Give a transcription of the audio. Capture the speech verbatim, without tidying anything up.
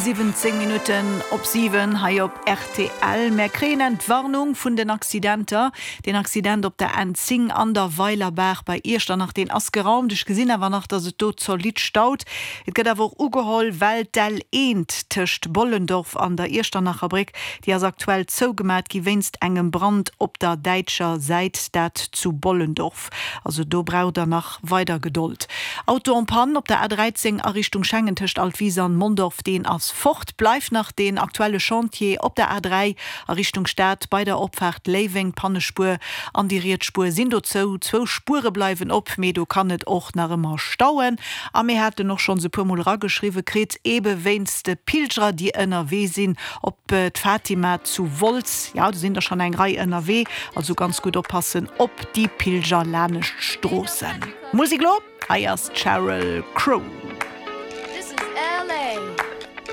Siwwenzéng Minutten op siwen hei op rtl. Mär kréien Entwarnung vun den Accidenter. Deen Accident op der N zéng an der Weilerbaach bei Iechternach, deen ass geraumt. Ech gesinn awer nach, dass et do zolidd staut. Et gëtt awer och ugeholl, well d'L eent tëscht Bollendorf an der Iechternacher Bréck, déi ass aktuell zougemat gi wéinst engem Brand op der däitscher Säit, dat zu Bollendorf. Also do braucht der nach weider Gedold. Auto en panne op der A dräizéng a Richtung Schengen tëscht Altwis an Mondorf, deen ass fort. Bleift nach deen aktuelle Chantier op der A dräi a Richtung Stad bei der Opfaart Léiweng. D'Pannespuer an déi riets Spuer sinn do zou, zwou Spuere bleiwen op, mee do kann et och nach ëmmer stauen. A mir haten och schonns e puer mol erageschriwwe kritt, eebe wéinst de Pilgerer, déi ënnerwee sinn op d'Fatima zu Wolz, jo do sinn der schonn eng Rei ënnerwee, also ganz gutt oppassen op déi Pilger lanescht d'Stroossen. Musek elo, hei ass d'Sheryl Crow. This is L A.